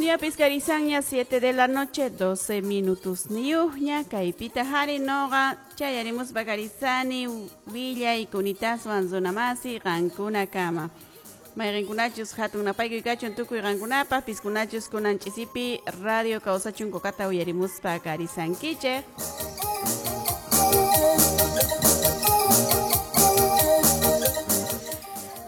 Ñapis karisanña 7 de la noche 12 minutos niyuqña kaypita hari noqa chayarimuspa karisani willay kunitaswan runamasi qankunakama. Mayqinkunachus hatun napaykuy kachun tukuy qankunapaq piskunachus kunan ch'isipi radio kawsachun kokata uyarimuspa karisankichik.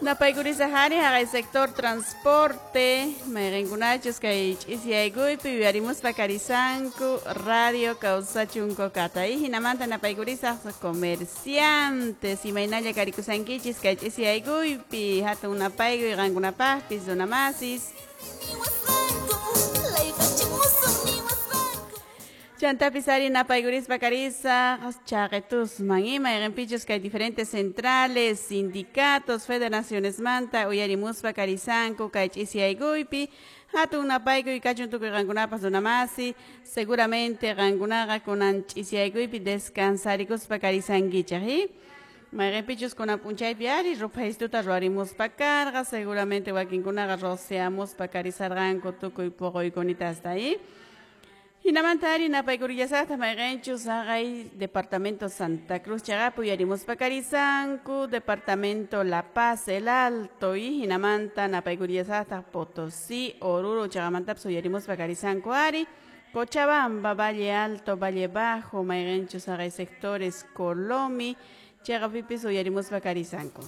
Napaykurisa hari haqay sector transporte mayqinkunachus kay ch'isiyaykuypi uyarimuspa karisanku radio kawsachun kokata y hinamanta napaykurisaq comerciantes imaynalla karikusankichis kay ch'isiyaykuypi hatun napaykuy qankunapaqpis runamasis. Chantapis ari napaykurispa karisaq chaqetusman ima mayqinpichus kay diferentes centrales, sindicatos, federaciones manta uyarimuspa karisanku kay ch'isiyaykuypi hatun napaykuy kachun tukuy qankunapas runamasi seguramente qankunaqa kunan ch'isiyaykuypi descansarikuspa karisankichaq y mayqinpichus kunan p'unchaypi ari ruphaystuta ruwarimuspa karqa seguramente wakinkunaqa rociamuspa karisarqanku tukuy puquykunitasta y hinamanta ari napaykurillasaqta mayqinchus haqay departamento Santa Cruz chaqapi uyarimuspa karisanku departamento La Paz El Alto y hinamanta napaykurillasaqta Potosí Oruro chaqamantapas uyarimuspa karisanku ari Cochabamba Valle Alto Valle Bajo mayqinchus haqay sectores Colomi chaqapipis uyarimuspa karisanku.